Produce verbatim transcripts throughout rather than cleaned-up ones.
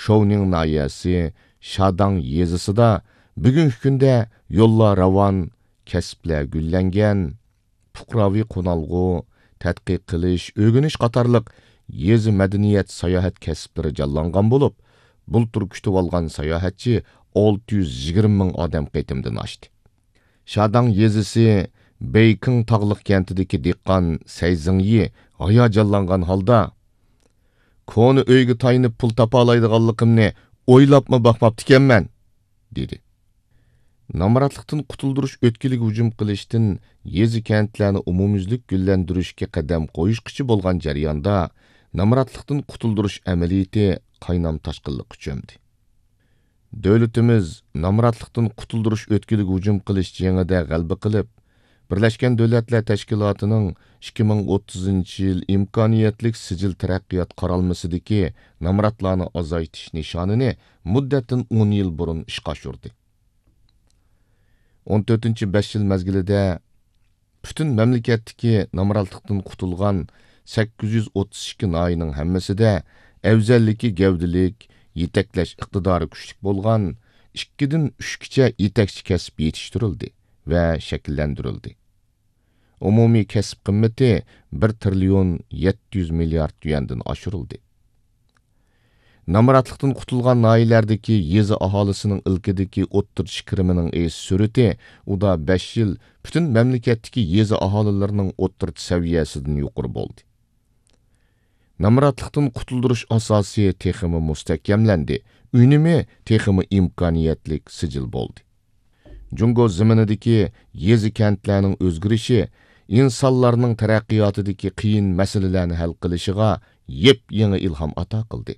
شوۋنىڭ ناھىيەسى شاداڭ يېزىسىدا بۈگۈنكى كۈندە يوللار راۋان، كەسىپلەر گۈللەنگەن، پۇقراۋى قونالغۇ، تەتقىق قىلىش، ئۆگىنىش قاتارلىق يېزا مەدەنىيەت، ساياھەت كەسىپلىرى جانلانغان بولۇپ، بۇلتۇر كۈتۈۋالغان ساياھەتچى ئالتە يۈز يىگىرمە مىڭ ئادەم قېتىمدىن ئاشتى. شاداڭ يېزىسى بېيكىڭ تاغلىق كەنتىدىكى دېھقان سەي زېڭيى ھاياجانلانغان ھالدا، «كونا ئۆيگە تايىنىپ پۇل تاپالايدىغانلىقىمنى ئويلاپمۇ باقماپتىكەنمەن» دېدى. نامراتلىقتىن قۇتۇلدۇرۇش ئۆتكىلىگە ھۇجۇم قىلىشتىن يېزا-كەنتلەرنى ئومۇميۈزلۈك گۈللەندۈرۈشكە قەدەم قويۇشقىچە بولغان جەرياندا، نامراتلىقتىن قۇتۇلدۇرۇش ئەمەلىيىتى قاينام تاشقىنلىققا چۆمدى. دۆلىتىمىز نامراتلىقتىن قۇتۇلدۇرۇش ئۆتكىلىگە ھۇجۇم قىلىش جېڭىدە غەلىبە قىلىپ، بىرلەشكەن دۆلەتلەر تەشكىلاتىنىڭ ئىككى مىڭ ئوتتۇزىنچى يىل ئىمكانىيەتلىك سىجىل تەرەققىيات قارالمىسىدىكى نامراتلارنى ئازايتىش نىشانىنى مۇددەتتىن ئون يىل بۇرۇن ئىشقا ئاشۇردى. ئون تۆتىنچى بەش يىل مەزگىلىدە پۈتۈن مەملىكەتتىكى نامراتلىقتىن قۇتۇلغان سەككىز يۈز ئوتتۇز ئىككى ناھىيەنىڭ ھەممىسىدە ئەۋزەللىكى گەۋدىلىك، يېتەكلەش ئىقتىدارى كۈچلۈك بولغان ئىككىدىن ئۈچكىچە يېتەكچى كەسىپ يېتىشتۈرۈلدى ۋە شەكىللەندۈرۈلدى. ئومۇمىي كەسىپ قىممىتى بىر تىرىليون يەتتە يۈز مىليارد يۈەندىن ئاشۇرۇلدى. نامراتلىقتىن قۇتۇلغان ناھىيەلەردىكى يېزا ئاھالىسىنىڭ ئىلكىدىكى ئوتتۇرىچە كىرىمىنىڭ ئېشىش سۈرئىتى ئۇدا بەش يىل پۈتۈن مەملىكەتتىكى يېزا ئاھالىلىرىنىڭ ئوتتۇرىچە سەۋىيەسىدىن يۇقىرى بولدى. نامراتلىقتىن قۇتۇلدۇرۇش ئاساسى تېخىمۇ مۇستەھكەملەندى، ئۈنۈمى تېخىمۇ ئىمكانىيەتلىك سىجىل بولدى. جۇڭگو زېمىنىدىكى يېزا-كەنتلەرنىڭ ئۆزگىرىشى ئىنسانلارنىڭ تەرەققىياتىدىكى قىيىن مەسىلىلەرنى ھەل قىلىشىغا يېپيېڭى ئىلھام ئاتا قىلدى.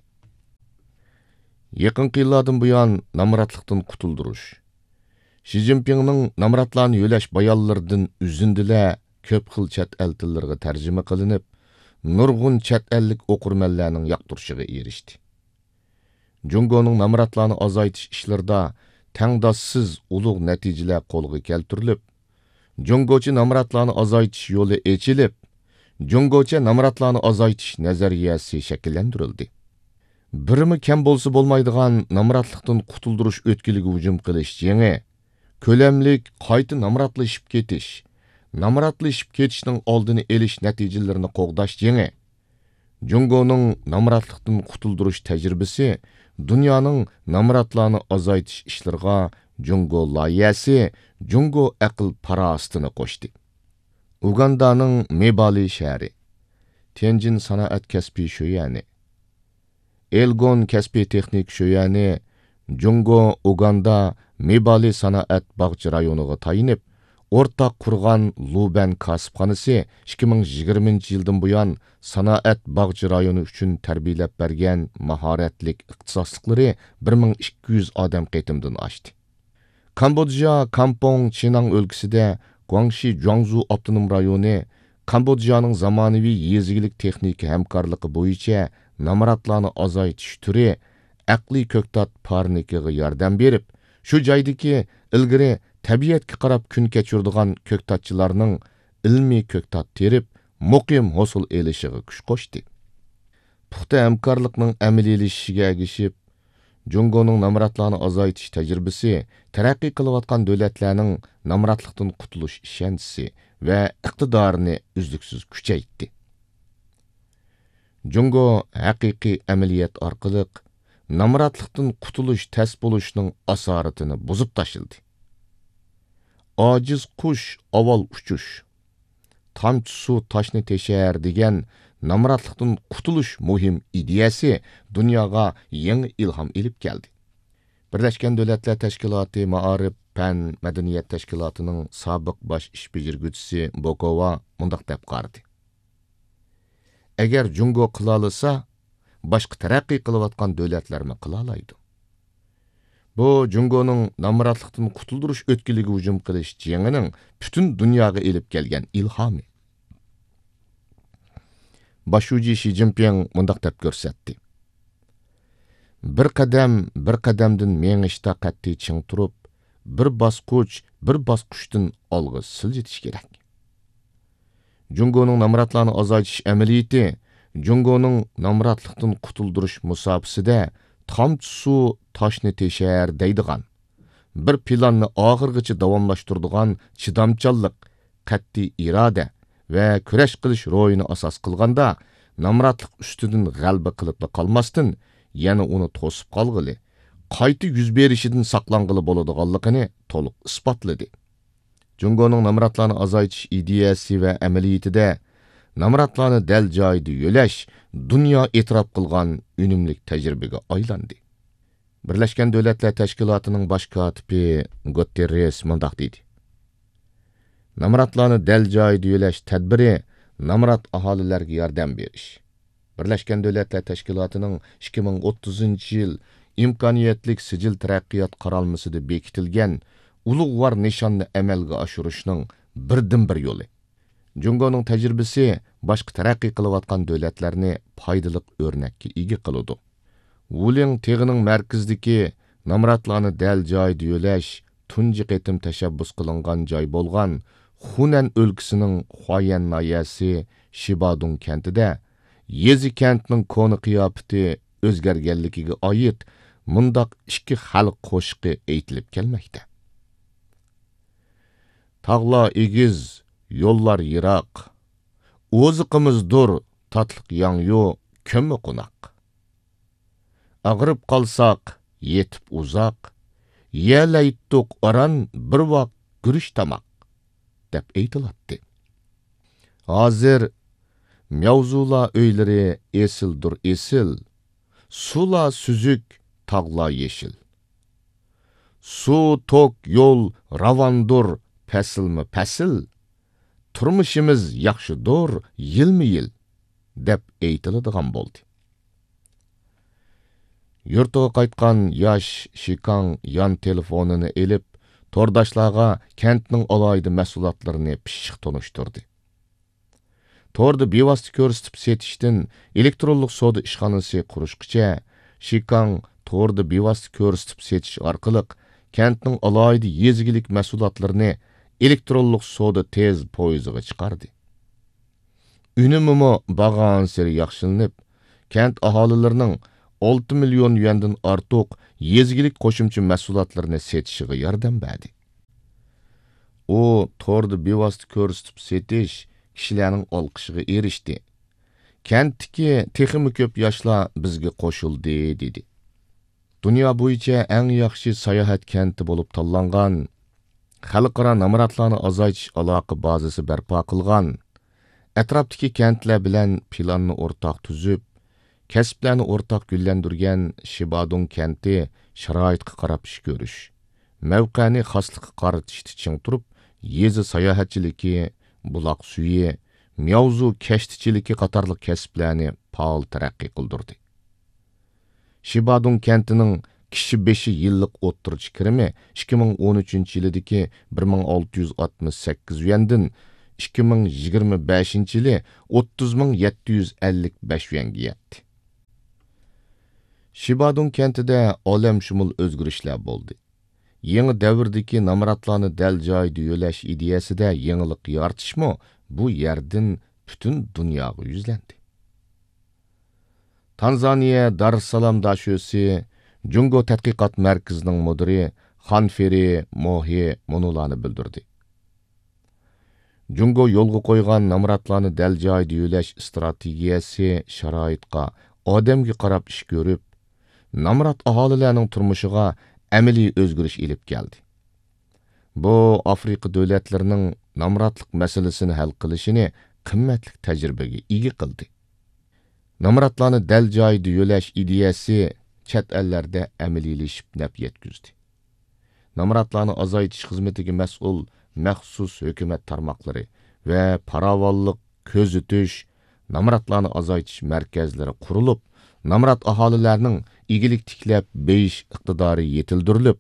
يېقىنقى يىللاردىن بۇيان نامراتلىقتىن قۇتۇلدۇرۇش، شى جىنپىڭنىڭ نامراتلارنى يۆلەش بايانلىرىدىن ئۈزۈندىلەر كۆپ خىل چەت ئەل تىللىرىغا تەرجىمە قىلىنىپ، نۇرغۇن چەت ئەللىك ئوقۇرمەنلەرنىڭ ياقتۇرۇشىغا ئېرىشتى. جۇڭگونىڭ نامراتلارنى ئازايتىش ئىشلىرىدا تەڭداشسىز ئۇلۇغ نەتىجىلەر قولغا كەلتۈرۈلۈپ، جۇڭگوچە نامراتلارنى ئازايتىش يولى ئېچىلىپ، جۇڭگوچە نامراتلارنى ئازايتىش نەزەرىيەسى شەكىللەندۈرۈلدى. بىرمۇ كەم بولسا بولمايدىغان نامراتلىقتىن قۇتۇلدۇرۇش ئۆتكىلىگە ھۇجۇم قىلىش جېڭى، كۆلەملىك قايتا نامراتلىشىپ كېتىش، نامراتلىشىپ كېتىشنىڭ ئالدىنى ئېلىش نەتىجىلىرىنى قوغداش جېڭى، جۇڭگونىڭ نامراتلىقتىن قۇتۇلدۇرۇش تەجرىبىسى دۇنيانىڭ نامراتلارنى ئازايتىش ئىشلىرىغا جۇڭگو لايىھەسى، جۇڭگو ئەقىل-پاراسىتىنى قوشتى. ئۇگاندانىڭ مېبالى شەھىرى، تيەنجىن سانائەت كەسپىي شۆيۈەنى، ئېلگون كەسپىي تېخنىكا شۆيۈەنى جۇڭگو ئۇگاندا مېبالى سانائەت باغچە رايونىغا تايىنىپ، ئورتاق قۇرغان لۇبەن كاسىپخانىسى ئىككى مىڭ يىگىرمىنچى يىلدىن بۇيان سانائەت باغچە رايونى ئۈچۈن تەربىيەلەپ بەرگەن ماھارەتلىك ئىختىساسلىقلىرى بىر مىڭ ئىككى يۈز ئادەم قېتىمدىن ئاشتى. كامبودژا كامپوڭ چىناڭ ئۆلكىسىدە گۇاڭشى جۇاڭزۇ ئاپتونوم رايونى كامبودژانىڭ زامانىۋى يېزا ئىگىلىك تېخنىكا ھەمكارلىقى بويىچە نامراتلارنى ئازايتىش تۈرى ئەقلىي كۆكتات پارنىكىغا ياردەم بېرىپ، شۇ جايدىكى ئىلگىرى تەبىئەتكە قاراپ كۈن كەچۈرىدىغان كۆكتاتچىلارنىڭ ئىلمىي كۆكتات تېرىپ، مۇقىم ھوسۇل ئېلىشىغا كۈچ قوشتى. پۇختا ھەمكارلىقنىڭ ئەمەلىيلىشىشىگە ئەگىشىپ، جۇڭگونىڭ نامراتلارنى ئازايتىش تەجرىبىسى تەرەققىي قىلىۋاتقان دۆلەتلەرنىڭ نامراتلىقتىن قۇتۇلۇش ئىشەنچىسى ۋە ئىقتىدارىنى ئۈزلۈكسىز كۈچەيتتى. جۇڭگو ھەقىقىي ئەمەلىيەت ئارقىلىق نامراتلىقتىن قۇتۇلۇش تەس بولۇشنىڭ ئاسارىتىنى بۇزۇپ تاشلىدى. «ئاجىز قۇش ئاۋۋال ئۇچۇش، تامچە سۇ تاشنى تېشەر» دېگەن نامراتلىقتىن قۇتۇلۇش مۇھىم ئىدىيەسى دۇنياغا يېڭى ئىلھام ئېلىپ كەلدى. بىرلەشكەن دۆلەتلەر تەشكىلاتى مائارىپ، پەن، مەدەنىيەت تەشكىلاتىنىڭ سابىق باش ئىش بېجىرگۈچىسى بوكوۋا مۇنداق دەپ قارىدى: «ئەگەر جۇڭگو قىلالىسا، باشقا تەرەققىي قىلىۋاتقان دۆلەتلەرمۇ قىلالايدۇ.» بۇ جۇڭگونىڭ نامراتلىقتىن قۇتۇلدۇرۇش ئۆتكىلىگە ھۇجۇم قىلىش جېڭىنىڭ پۈتۈن دۇنياغا ئېلىپ كەلگەن ئىلھامى. باش شۇجى شى جىنپىڭ مۇنداق دەپ كۆرسەتتى: «بىر قەدەم، بىر قەدەمدىن مېڭىشتا قەتئىي چىڭ تۇرۇپ، بىر باسقۇچ، بىر باسقۇچتىن ئالغا سىلجىتىش كېرەك.» جۇڭگونىڭ نامراتلارنى ئازايتىش ئەمەلىيىتى جۇڭگونىڭ نامراتلىقتىن قۇتۇلدۇرۇش مۇساپىسىدە تامچە سۇ تاشنى تېشەر دەيدىغان، بىر پىلاننى ئاخىرغىچە داۋاملاشتۇرىدىغان چىدامچانلىق، قەتئىي ئىرادە ۋە كۈرەش قىلىش روھىنى ئاساس قىلغاندا، نامراتلىق ئۈستىدىن غەلىبە قىلىپلا قالماستىن، يەنە ئۇنى توسۇپ قالغىلى، قايتا يۈز بېرىشىدىن ساقلانغىلى بولىدىغانلىقىنى تولۇق ئىسپاتلىدى. جۇڭگونىڭ نامراتلارنى ئازايتىش ئىدىيەسى ۋە ئەمەلىيىتىدە نامراتلارنى دەل جايىدا يۆلەش دۇنيا ئېتىراپ قىلغان ئۈنۈملۈك تەجرىبىگە ئايلاندى. بىرلەشكەن دۆلەتلەر تەشكىلاتىنىڭ باش كاتىپى گۇتېررېس مۇنداق دېدى: نامراتلارنى دەل جايىدا يۆلەش تەدبىرى نامرات ئاھالىلەرگە ياردەم بېرىش، بىرلەشكەن دۆلەتلەر تەشكىلاتىنىڭ ئىككى مىڭ ئوتتۇزىنچى يىل ئىمكانىيەتلىك سىجىل تەرەققىيات قارالمىسىدا بېكىتىلگەن ئۇلۇغۋار نىشاننى ئەمەلگە ئاشۇرۇشنىڭ بىردىنبىر يولى. جۇڭگونىڭ تەجرىبىسى باشقا تەرەققىي قىلىۋاتقان دۆلەتلەرنى پايدىلىق ئۆرنەككە ئىگە قىلىدۇ. ۋۇلىڭ تېغىنىڭ مەركىزىدىكى نامراتلارنى دەل جايىدا يۆلەش تۇنجى قېتىم تەشەببۇس قىلىنغان جاي بولغان خۇنەن ئۆلكىسىنىڭ خۇايەن ناھىيەسى شىبادۇڭ كەنتىدە يېزا كەنتنىڭ كونا قىياپىتى ئۆزگەرگەنلىكىگە ئائىت مۇنداق ئىككى خەلق قوشىقى ئېيتىلىپ كەلمەكتە. تاغلار ئېگىز، يوللار يىراق، ئوزۇقىمىز دۇر، تاتلىق ياڭيۇ، كۆممە قوناق. ئاغرىپ قالساق، يېتىپ ئۇزاق، يېيەلەيتتۇق ئاران بىر ۋاق گۈرۈچ تاماق، دەپ ئېيتىلاتتى. ھازىر مياۋزۇلا ئۆيلىرى ئېسىلدۇر ئېسىل، سۇلا سۈزۈك، تاغلا يېشىل. سۇ، توك، يول راۋاندۇر، پەسىلمۇ پەسىل، تۇرمۇشىمىز ياخشىدۇر يىلمۇ يىل، دەپ ئېيتىلىدىغان بولدى. يۇرتىغا قايتقان ياش شىكاڭ يان تېلېفونىنى ئېلىپ، تورداشلارغا كەنتنىڭ ئالاھىدە مەھسۇلاتلىرىنى پىششىق تونۇشتۇردى. توردا بىۋاسىتە كۆرسىتىپ سېتىشتىن ئېلېكترونلۇق سودا ئىشخانىسى قۇرۇشقىچە، شىكاڭ توردا بىۋاسىتە كۆرسىتىپ سېتىش ئارقىلىق كەنتنىڭ ئالاھىدە يېزا ئىگىلىك مەھسۇلاتلىرىنى ئېلېكترونلۇق سودا تېز پويىزىغا چىقاردى. ئۈنۈمىمۇ بارغانسېرى ياخشىلىنىپ، كەنت ئاھالىلىرىنىڭ ئالتە مىليون يۈەندىن ئارتۇق يېزا ئىگىلىك قوشۇمچە مەھسۇلاتلىرىنى سېتىشىغا ياردەم بەردى. ئۇ توردا بىۋاسىتە كۆرسىتىپ سېتىش كىشىلەرنىڭ ئالقىشىغا ئېرىشتى. كەنتتىكى تېخىمۇ كۆپ ياشلار بىزگە قوشۇلدى، دېدى. دۇنيا بويىچە ئەڭ ياخشى ساياھەت كەنتى بولۇپ تاللانغان، خەلقئارا نامراتلارنى ئازايتىش ئالاقە بازىسى بەرپا قىلغان، ئەتراپتىكى كەنتلەر بىلەن پىلاننى ئورتاق تۈزۈپ، كەسىپلەرنى ئورتاق گۈللەندۈرگەن شىبادۇڭ كەنتى شارائىتقا قاراپ ئىش كۆرۈش، مەۋقەنى خاسلىققا قارىتىشتا چىڭ تۇرۇپ، يېزا ساياھەتچىلىكى، بۇلاق سۈيى، مياۋزۇ كەشتىچىلىكى قاتارلىق كەسىپلەرنى پائال تەرەققىي قىلدۇردى. شىبادۇڭ كەنتىنىڭ كىشى بېشى يىللىق ئوتتۇرىچە كىرىمى ئىككى مىڭ ئون ئۈچىنچى يىلىدىكى بىر مىڭ ئالتە يۈز ئاتمىش سەككىز يۈەندىن ئىككى مىڭ يىگىرمە بەشىنچى يىلى ئوتتۇز مىڭ يەتتە يۈز ئەللىك بەش يۈەنگە يەتتى. شىبادۇڭ كەنتىدە ئالەمشۇمۇل ئۆزگىرىشلەر بولدى. يېڭى دەۋردىكى نامراتلارنى دەل جايىدا يۆلەش ئىدىيەسىدە يېڭىلىق يارىتىشمۇ بۇ يەردىن پۈتۈن دۇنياغا يۈزلەندى. تانزانىيە دارسالام داشۆسى جۇڭگو تەتقىقات مەركىزىنىڭ مۇدىرى خانفېرى موھې مۇنۇلارنى بىلدۈردى: جۇڭگو يولغا قويغان نامراتلارنى دەل جايىدا يۆلەش ئىستراتېگىيەسى شارائىتقا، ئادەمگە قاراپ ئىش كۆرۈپ، نامرات ئاھالىلەرنىڭ تۇرمۇشىغا ئەمەلىي ئۆزگىرىش ئېلىپ كەلدى. بۇ ئافرىقا دۆلەتلىرىنىڭ نامراتلىق مەسىلىسىنى ھەل قىلىشىنى قىممەتلىك تەجرىبىگە ئىگە قىلدى. نامراتلارنى دەل جايىدا يۆلەش ئىدىيەسى چەت ئەللەردە ئەمەلىيلىشىپ نەپ يەتكۈزدى. نامراتلارنى ئازايتىش خىزمىتىگە مەسئۇل مەخسۇس ھۆكۈمەت تارماقلىرى ۋە پاراۋانلىق، كۆزىتىش، نامراتلارنى ئازايتىش مەركەزلىرى قۇرۇلۇپ، نامرات ئاھالىلەرنىڭ ئىگىلىك تىكلەپ بېيىش ئىقتىدارى يېتىلدۈرۈلۈپ،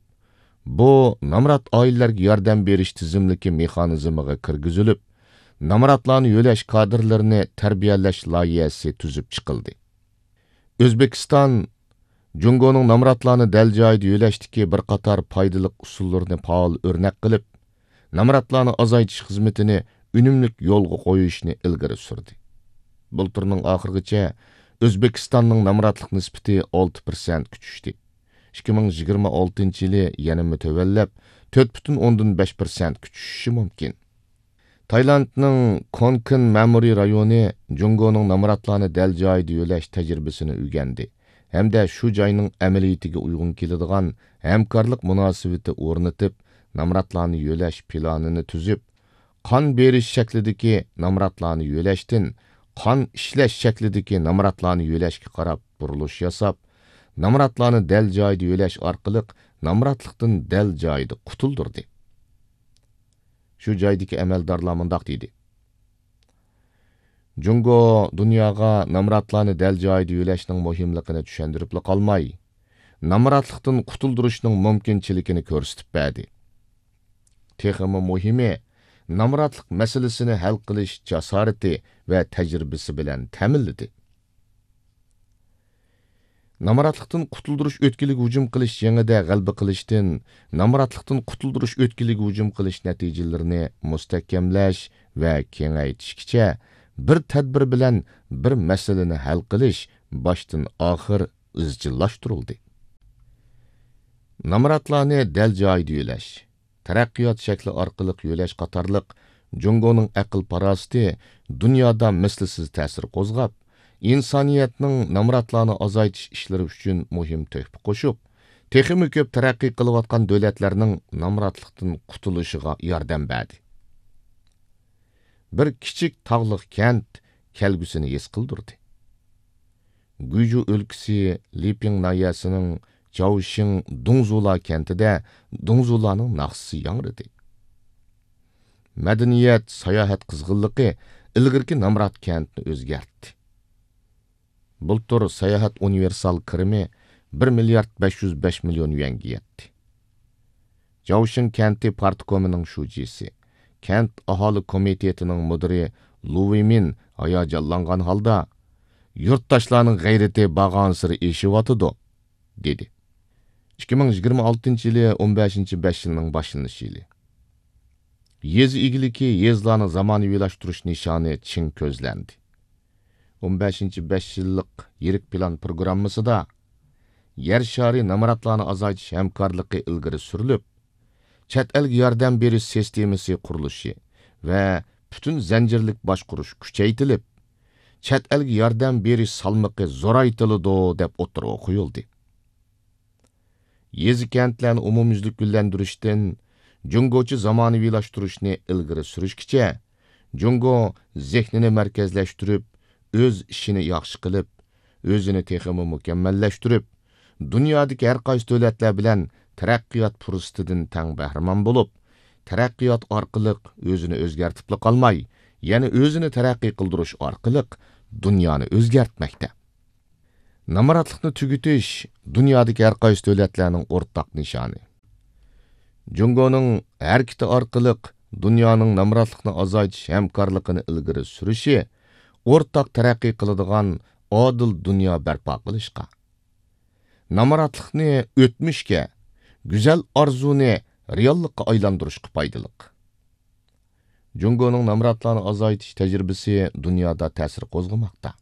بۇ نامرات ئائىلىلەرگە ياردەم بېرىش تىزىملىكى مېخانىزمىغا كىرگۈزۈلۈپ، نامراتلارنى يۆلەش كادىرلىرىنى تەربىيەلەش لايىھەسى تۈزۈپ چىقىلدى. ئۆزبېكىستان جۇڭگونىڭ نامراتلارنى دەل جايىدا يۆلەشتىكى بىر قاتار پايدىلىق ئۇسۇللىرىنى پائال ئۆرنەك قىلىپ، نامراتلارنى ئازايتىش خىزمىتىنى ئۈنۈملۈك يولغا قويۇشنى ئىلگىرى سۈردى. بۇلتۇرنىڭ ئاخىرىغىچە ئۆزبېكىستاننىڭ نامراتلىق نىسبىتى ئالتە پىرسەنتكە چۈشتى. ئىككى مىڭ يىگىرمە ئالتىنچى يىلى يەنىمۇ تۆۋەنلەپ، تۆت پۈتۈن ئوندىن بەش پىرسەنتكە چۈشۈشى مۇمكىن. تايلاندنىڭ كونكىن مەمۇرىي رايونى جۇڭگونىڭ نامراتلارنى دەل جايىدا يۆلەش تەجرىبىسىنى ئۆگەندى ھەمدە شۇ جاينىڭ ئەمەلىيىتىگە ئۇيغۇن كېلىدىغان ھەمكارلىق مۇناسىۋىتى ئورنىتىپ، نامراتلارنى يۆلەش پىلانىنى تۈزۈپ، قان بېرىش شەكلىدىكى نامراتلارنى يۆلەشتىن قان ئىشلەش شەكلىدىكى نامراتلارنى يۆلەشكە قاراپ بۇرۇلۇش ياساپ، نامراتلارنى دەل جايىدا يۆلەش ئارقىلىق نامراتلىقتىن دەل جايىدا قۇتۇلدۇردى. شۇ جايدىكى ئەمەلدارلار مۇنداق دېدى: جۇڭگو دۇنياغا نامراتلارنى دەل جايىدا يۆلەشنىڭ مۇھىملىقىنى چۈشەندۈرۈپلا قالماي، نامراتلىقتىن قۇتۇلدۇرۇشنىڭ مۇمكىنچىلىكىنى كۆرسىتىپ بەردى. تېخىمۇ مۇھىمى، نامراتلىق مەسىلىسىنى ھەل قىلىش جاسارىتى ۋە تەجرىبىسى بىلەن تەمىنلىدى. نامراتلىقتىن قۇتۇلدۇرۇش ئۆتكىلىگە ھۇجۇم قىلىش جېڭىدە غەلىبە قىلىشتىن، نامراتلىقتىن قۇتۇلدۇرۇش ئۆتكىلىگە ھۇجۇم قىلىش نەتىجىلىرىنى مۇستەھكەملەش ۋە كېڭەيتىشكىچە بىر تەدبىر بىلەن بىر مەسىلىنى ھەل قىلىش باشتىن ئاخىر ئىزچىللاشتۇرۇلدى. نامراتلارنى دەل جايىدا يۆلەش، تەرەققىيات شەكلى ئارقىلىق يۆلەش قاتارلىق جۇڭگونىڭ ئەقىل-پاراسىتى دۇنيادا مىسلىسىز تەسىر قوزغاپ، ئىنسانىيەتنىڭ نامراتلارنى ئازايتىش ئىشلىرى ئۈچۈن مۇھىم تۆھپە قوشۇپ، تېخىمۇ كۆپ تەرەققىي قىلىۋاتقان دۆلەتلەرنىڭ نامراتلىقتىن قۇتۇلۇشىغا ياردەم بەردى. بىر كىچىك تاغلىق كەنت كەلگۈسىنى ھېس قىلدۇردى. گۇيجۇ ئۆلكىسى لىپىڭ ناھىيەسىنىڭ جاۋشىڭ دۇڭزۇلا كەنتىدە دۇڭزۇلانىڭ ناخشىسى ياڭرىدى. مەدەنىيەت، ساياھەت قىزغىنلىقى ئىلگىرىكى نامرات كەنتنى ئۆزگەرتتى. بۇلتۇر ساياھەت ئۇنىۋېرسال كىرىمى بىر مىليارد بەش يۈز بەش مىليون يۈەنگە يەتتى. جاۋشىڭ كەنتى پارتكومىنىڭ شۇجىسى، كەنت ئاھالە كومىتېتىنىڭ مۇدىرى لۇ ۋېيمىن ھاياجانلانغان ھالدا، يۇرتداشلارنىڭ غەيرىتى بارغانسېرى ئېشىۋاتىدۇ، دېدى. ئىككى مىڭ يىگىرمە ئالتىنچى يىلى ئون بەشىنچى بەش يىلنىڭ باشلىنىش يىلى. يېزا ئىگىلىكى، يېزىلارنى زامانىۋىلاشتۇرۇش نىشانى چىڭ كۆزلەندى. ئون بەشىنچى بەش يىللىق يىرىك پىلان پروگراممىسىدا يەر شارى نامراتلارنى ئازايتىش ھەمكارلىقى ئىلگىرى سۈرۈلۈپ، چەت ئەلگە ياردەم بېرىش سىستېمىسى قۇرۇلۇشى ۋە پۈتۈن زەنجىرلىك باشقۇرۇش كۈچەيتىلىپ، چەت ئەلگە ياردەم بېرىش سالمىقى زورايتىلىدۇ، دەپ ئوتتۇرىغا قويۇلدى. يېزا كەنتلەرنى ئومۇميۈزلۈك گۈللەندۈرۈشتىن جۇڭگوچە زامانىۋىلاشتۇرۇشنى ئىلگىرى سۈرۈشكىچە، جۇڭگو زېھنىنى مەركەزلەشتۈرۈپ، ئۆز ئىشىنى ياخشى قىلىپ، ئۆزىنى تېخىمۇ مۇكەممەللەشتۈرۈپ، دۇنيادىكى ھەر قايسى دۆلەتلەر بىلەن تەرەققىيات پۇرسىتىدىن تەڭ بەھرىمەن بولۇپ، تەرەققىيات ئارقىلىق ئۆزىنى ئۆزگەرتىپلا قالماي، يەنە ئۆزىنى تەرەققىي قىلدۇرۇش ئارقىلىق دۇنيانى ئۆزگەرتمەكتە. نامراتلىقنى تۈگىتىش دۇنيادىكى ھەر قايسى دۆلەتلەرنىڭ ئورتاق نىشانى. جۇڭگونىڭ ھەرىكىتى ئارقىلىق دۇنيانىڭ نامراتلىقنى ئازايتىش ھەمكارلىقىنى ئىلگىرى سۈرۈشى ئورتاق تەرەققىي قىلىدىغان ئادىل دۇنيا بەرپا قىلىشقا، نامراتلىقنى ئۆتمۈشكە، گۈزەل ئارزۇنى رېئاللىققا ئايلاندۇرۇشقا پايدىلىق. جۇڭگونىڭ نامراتلارنى ئازايتىش تەجرىبىسى دۇنيادا تەسىر قوزغىماقتا.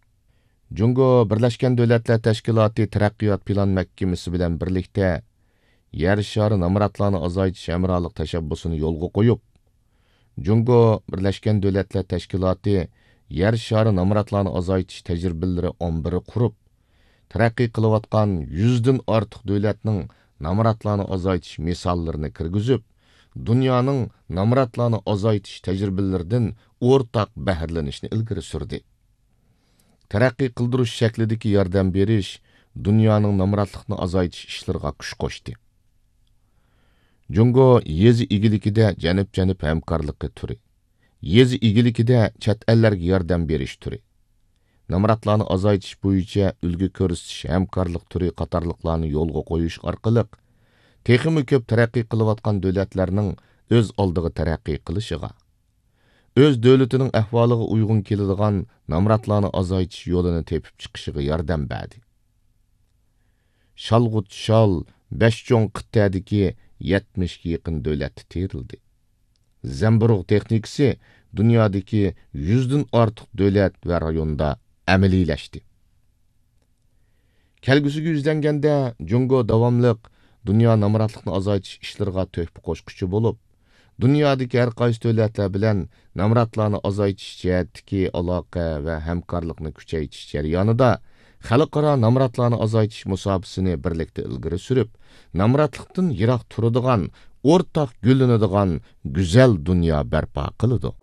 جۇڭگو بىرلەشكەن دۆلەتلەر تەشكىلاتى تەرەققىيات پىلان مەھكىمىسى بىلەن بىرلىكتە يەر شارى نامراتلارنى ئازايتىش ھەمراھلىق تەشەببۇسىنى يولغا قويۇپ، جۇڭگو بىرلەشكەن دۆلەتلەر تەشكىلاتى يەر شارى نامراتلارنى ئازايتىش تەجرىبىلىرى ئامبىرى قۇرۇپ، تەرەققىي قىلىۋاتقان يۈزدىن ئارتۇق دۆلەتنىڭ نامراتلارنى ئازايتىش مىساللىرىنى كىرگۈزۈپ، دۇنيانىڭ نامراتلارنى ئازايتىش تەجرىبىلىرىدىن ئورتاق بەھرىلىنىشنى ئىلگىرى سۈردى. تەرەققىي قىلدۇرۇش شەكلىدىكى ياردەم بېرىش دۇنيانىڭ نامراتلىقنى ئازايتىش ئىشلىرىغا كۈچ قوشتى. جۇڭگو يېزا ئىگىلىكىدە جەنۇب-جەنۇب ھەمكارلىقى تۈرى، يېزا ئىگىلىكىدە چەت ئەللەرگە ياردەم بېرىش تۈرى، نامراتلارنى ئازايتىش بويىچە ئۈلگە كۆرسىتىش ھەمكارلىق تۈرى قاتارلىقلارنى يولغا قويۇش ئارقىلىق، تېخىمۇ كۆپ تەرەققىي قىلىۋاتقان دۆلەتلەرنىڭ ئۆز ئالدىغا تەرەققىي قىلىشىغا، ئۆز دۆلىتىنىڭ ئەھۋالىغا ئۇيغۇن كېلىدىغان نامراتلارنى ئازايتىش يولىنى تېپىپ چىقىشىغا ياردەم بەردى. شالغۇت شال بەش چوڭ قىتئەدىكى يەتمىشكە يېقىن دۆلەتتە تېرىلدى. زەمبۇرۇغ تېخنىكىسى دۇنيادىكى يۈزدىن ئارتۇق دۆلەت ۋە رايوندا ئەمەلىيلەشتى. كەلگۈسىگە يۈزلەنگەندە، جۇڭگو داۋاملىق دۇنيا نامراتلىقنى ئازايتىش ئىشلىرىغا تۆھپە قوشقۇچى بولۇپ، دۇنيادىكى ھەر قايسى دۆلەتلەر بىلەن نامراتلارنى ئازايتىش جەھەتتىكى ئالاقە ۋە ھەمكارلىقنى كۈچەيتىش جەريانىدا خەلقئارا نامراتلارنى ئازايتىش مۇساپىسىنى بىرلىكتە ئىلگىرى سۈرۈپ، نامراتلىقتىن يىراق تۇرىدىغان ئورتاق گۈللىنىدىغان گۈزەل دۇنيا بەرپا قىلىدۇ.